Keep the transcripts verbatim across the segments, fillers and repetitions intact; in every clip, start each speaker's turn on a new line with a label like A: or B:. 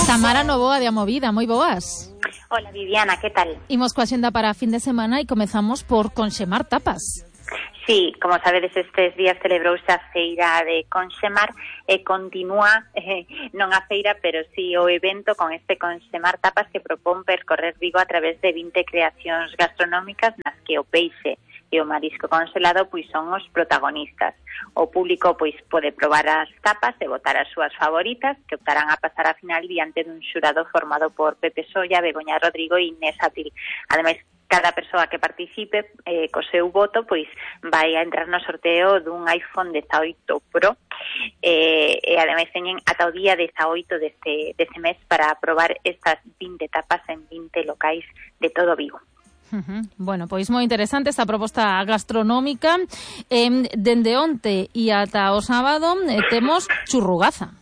A: Tamara Novoa de A Movida, moi boas.
B: Hola Viviana, que tal?
A: Imos coa xenda para fin de semana e comezamos por Conxemar Tapas.
B: Sí, como sabedes, estes días celebrouse a feira de Conxemar e continúa, eh, non a feira, pero sí o evento con este Conxemar Tapas que propón percorrer Vigo a través de vinte creacións gastronómicas nas que o peixe e o marisco congelado pois son os protagonistas. O público pois pode probar as tapas e votar as súas favoritas, que optarán a pasar a final diante dun xurado formado por Pepe Solla, Begoña Rodrigo e Inés Abril. Ademais, cada persoa que participe eh, co seu voto pois vai a entrar no sorteo dun iPhone dezaoito Pro eh, e ademais teñen ata o día dezaoito deste, deste mes para probar estas vinte tapas en vinte locais de todo Vigo.
A: Uh-huh. Bueno, pois moi interesante esta proposta gastronómica. Eh, dende onte e ata o sábado eh, temos churrugaza.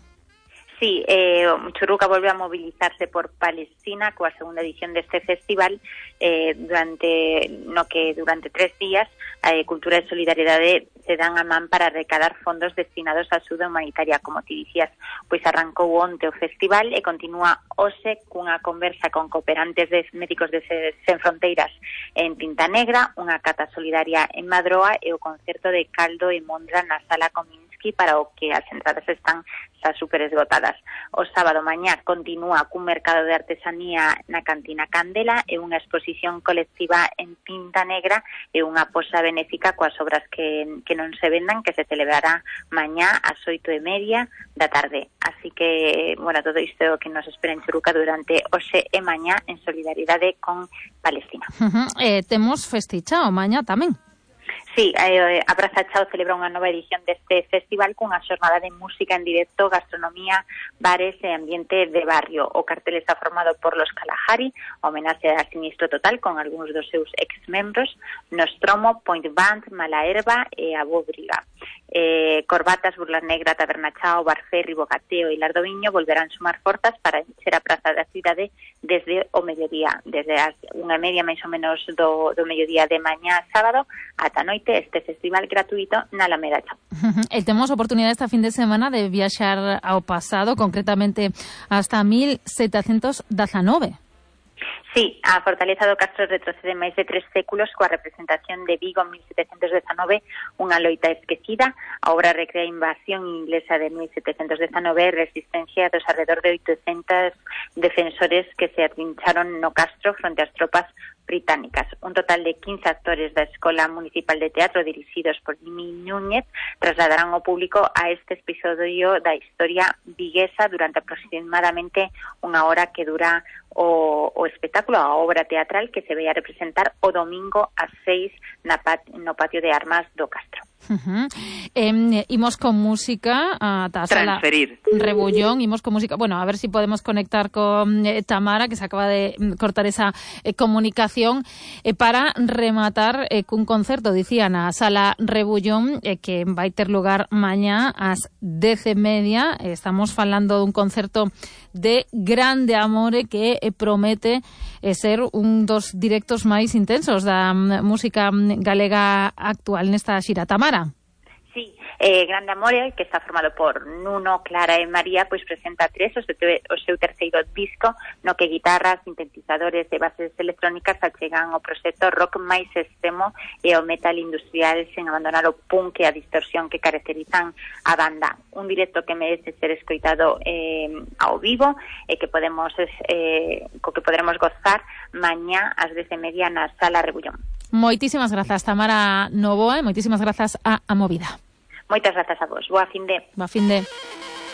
B: Sí, eh, Churruca volve a mobilizarse por Palestina coa segunda edición deste festival eh, durante no que durante tres días a eh, Cultura e Solidariedade se dan a man para recadar fondos destinados a axuda humanitaria, como ti dicías, pois arrancou onte o festival e continúa hoxe cunha conversa con cooperantes de médicos de Sen Fronteiras en Tinta Negra, unha cata solidaria en Madroa e o concerto de caldo e mondra na Sala Kominsky, para o que as entradas están xa super esgotadas. O sábado mañá continúa cun mercado de artesanía na Cantina Candela e unha exposición colectiva en Tinta Negra e unha posa benéfica coas obras que, que non se vendan, que se celebrará mañá ás oito e media da tarde. Así que, bueno, todo isto é o que nos espera en Churruca durante hoxe e mañá en solidaridade con Palestina.
A: Uh-huh. Eh, temos festichao mañá tamén.
B: Sí, eh, a Praza Chao celebra unha nova edición deste festival cunha xornada de música en directo, gastronomía, bares e ambiente de barrio. O cartel está formado por Los Kalahari, homenaxe a Sinistro Total con algúns dos seus ex-membros, Nostromo, Point Band, Mala Herba e a Bóbriga. Eh, Corbatas, Burla Negra, Taberna Chao, Barferri, Bocateo e Lardoviño volverán sumar forzas para encher a Praza da Cidade desde o mediodía, desde as unha e media máis ou menos do, do mediodía de mañá sábado ata noite este festival gratuito na Alameda Chao.
A: E temos oportunidade esta fin de semana de viaxar ao pasado, concretamente hasta mil setecentos dezanove.
B: Sí, a Fortaleza do Castro retrocede máis de tres séculos coa representación de Vigo en mil setecentos dezanove, unha loita esquecida. A obra recrea a invasión inglesa de mil setecentos dezanove e resistencia dos alrededor de oitocentos defensores que se atrincharon no castro fronte ás tropas británicas. Un total de quince actores da Escola Municipal de Teatro dirixidos por Jimmy Núñez trasladarán ao público a este episodio da historia viguesa durante aproximadamente unha hora que dura o, o espectáculo, a obra teatral que se vai a representar o domingo ás seis na pat, no patio de armas do Castro.
A: Uh-huh. Eh, imos con música a Sala Rebullón, imos con música, bueno, a ver si podemos conectar con eh, Tamara, que se acaba de cortar esa eh, comunicación, eh, para rematar eh, cun concerto, dicían, a Sala Rebullón, eh, que vai ter lugar mañá ás dez e media. Eh, estamos falando dun concerto de grande amore que eh, promete eh, ser un dos directos máis intensos da um, música galega actual nesta xira. Tamara.
B: Sí, eh, Grande Amore, que está formado por Nuno, Clara e María, pois presenta tres o seu, o seu terceiro disco, no que guitarras, sintetizadores e bases electrónicas achegan o proxecto rock máis extremo e o metal industrial sen abandonar o punk e a distorsión que caracterizan a banda. Un directo que merece ser escoitado eh, ao vivo e que podemos eh, co que poderemos gozar mañá ás dez e media na Sala Rebullón.
A: Moitísimas grazas, Tamara Novoa, e moitísimas grazas a A Movida.
B: Moitas grazas a vos. Boa fin de.
A: Boa fin de.